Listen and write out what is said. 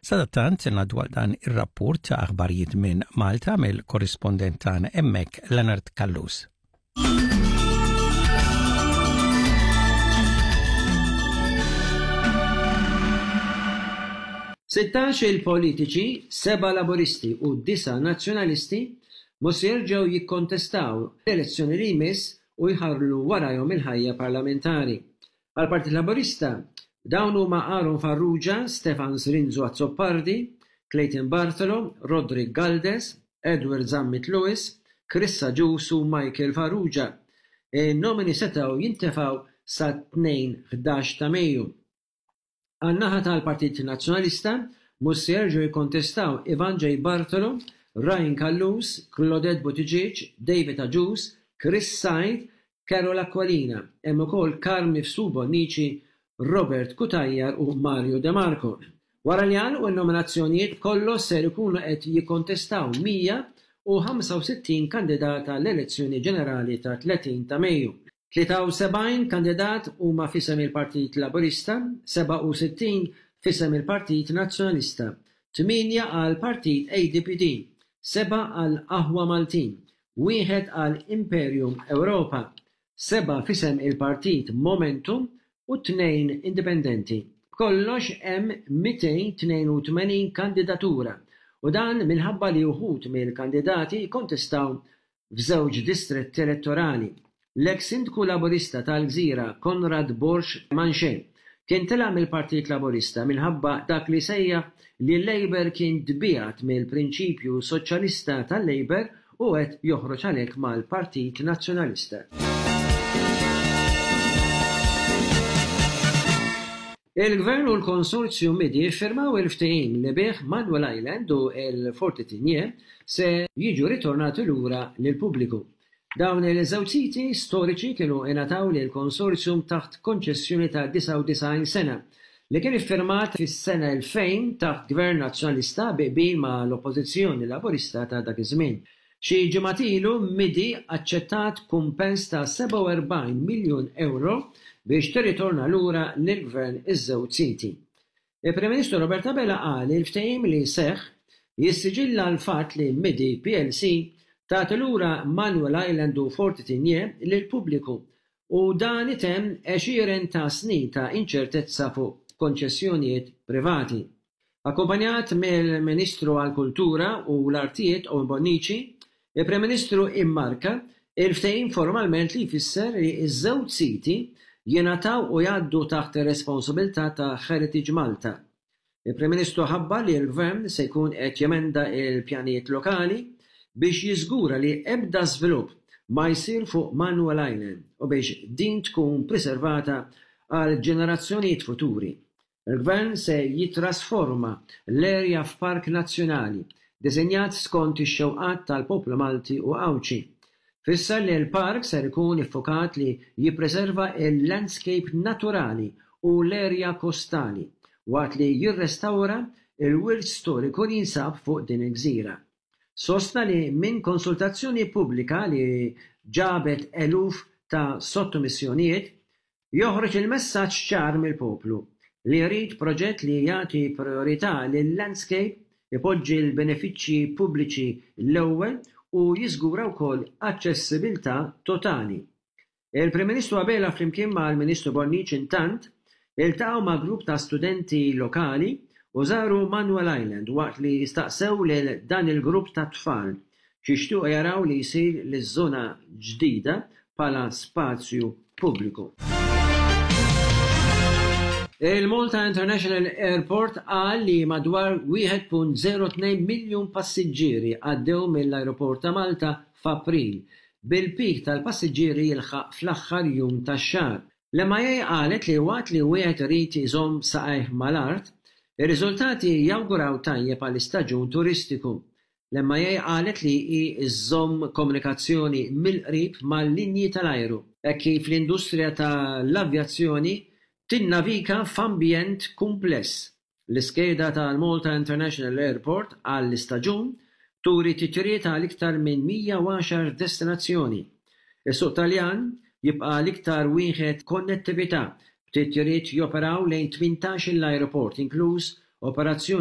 Sadattant ngħaddu għal dan ir-rapport ta' aħbarijiet minn Malta mill-korrispondent tagħna hemmhekk Leonard Callus. 16 il-politiċi, seba' Laburisti u disa' Nazzjonalisti mhux se jerġgħu jikkontestaw l-elezzjoni li jmiss u jħarrlu warajhom il-ħajja parlamentari. Għall-Partit Laburista, dawn huma Aaron Farrugia, Stefan Zrinzo Azzopardi, Clayton Bartolo, Roderick Galdes, Edward Zammit Lewis, Chris Agius u Michael Farrugia. In-nomini setgħu jintefgħu sat-Tnejn 11 ta' Mejju. Għan-naħa tal-Partit Nazzjonalista, mhux se jerġgħu jikkontestaw Ivan J. Bartolo, Ryan Callus, Claudette Buttigieg, David Agius, Chris Said, Carol Aquilina. Hemm ukoll Carm Mifsud Bonnici, Robert Cutajar u Mario De Marco. Wara li għalqu n-nominazzjonijiet b'kollox ser ikunu qed jikkontestaw 165 kandidat għall-elezzjoni ġenerali tat-30 ta' Mejju. 73 kandidat huma f'isem il-Partit Laburista, 67 f'isem il-Partit Nazzjonalista, tmienja għall-Partit ADPD, sebgħa għal Aħwa Maltin, wieħed għal Imperium Europa, sebgħa f'isem il-Partit Momentum u tnejn indipendenti. B'kollox hemm 282 kandidatura u dan minħabba li wħud mill-kandidati jikkontestaw f'żewġ distretti elettorali. L-eks Sindku Laburista tal-Gżira Conrad Borg Manché kien telaq mill-Partit Laburista minħabba dak li sejjaħ li l-Labour kien tbiegħed mill-prinċipju soċjalista tal-Labour u qed joħroġ għalhekk mal-Partit Nazzjonalista. Il-Gvern u l-Konsorzju MIDI ffirmaw il-ftehim li bih Manuel Island u l-Forti Tigné se jiġu ritornati lura lill-pubbliku. Dawn il-żewġ siti storiċi kienu ingħataw lill-konsorzjum taħt konċessjoni ta' 99 sena, li kien iffirmat fis-sena 2000 taħt Gvern Nazzjonalista bi qbil ma' l-Oppożizzjoni Laburista ta' dak iż-żmien. Xi ġimgħat ilu Midi aċċettat kumpens ta' 47 miljun ewro biex tirritorna lura lill-Gvern iż-żewġ siti. Il-Prim Ministru Robert Abela qal li l-ftehim li seħħ jissiġilla l-fatt li Midi plc tagħti lura Manuel Island u Forti Tigné lill-pubbliku u dan itemm għexieren ta' snin ta' inċertezza fuq konċessjonijiet privati. Akkumpanjat mill-Ministru għall-Kultura u l-Artijiet Owen Bonnici, il-Prim Ministru immarka il-ftehim formalment li jfisser li ż-żewġ siti jingħataw u jgħaddu taħt ir-responsabilità ta' Heritage Malta. Il-Prim Ministru ħabbar li l-Gvern se jkun qed jemenda l-pjanijiet lokali biex jiżgura li ebda żvilupp ma jsir fuq Manuel Island u biex din tkun priservata għal ġenerazzjonijiet futuri. Il-Gvern se jittrasforma l-erja f'park nazzjonali, diżinjat skont ix-xewqat tal-poplu Malti u Għawdxi. Fisser li l-park ser ikun iffukat li jippreserva l-landscape naturali u l-erja kostali, waqt li jirrestawra l-wirt storiku li jinsab fuq din il-gżira. Sostna li minn konsultazzjoni pubblika li ġabet eluf ta' sottomissjonijiet, Joħroġ il-messaġġ ċar mill-poplu li jrid proġett li jagħti prijorità lil-landscape, ipoġġi l-benefiċċji pubbliċi l-ewwel u jiżgura wkoll aċċessibilità totali. Il-Prim Ministru Abela flimkien mal-Ministru Bonnici intant iltaqgħu ma' grupp ta' studenti lokali u żaru Manuel Island waqt li staqsew lil dan il-grupp ta' tfal x'jixtiequ jaraw li jsir liż-żona ġdida bħala spazju pubbliku. Il-Malta International Airport qal li madwar 1.02 miljun passiġġieri għaddew mill-ajruport ta' Malta f'April, bil-peak tal-passiġġieri jilħaq fl-aħħar jum tax-xahar. L-MIA qalet li waqt li wieħed irid iżomm saqajh mal-art, ir-riżultati jawguraw tajjeb għall-istaġun turistiku. L-MIA qalet li hi żżomm komunikazzjoni mill-qrib mal-linji tal-ajru, hekk kif l-industrija tal-avjazzjoni tinnavika f'ambjent kumpless. L-iskeda tal-Malta International Airport għall-istaġun turi titjiriet għal iktar minn 110 destinazzjoni. Is-suq Taljan jibqa' l-iktar wieħed konnettività, b'titjiriet joperaw lejn 18-il ajruport, inkluż operazzjoni.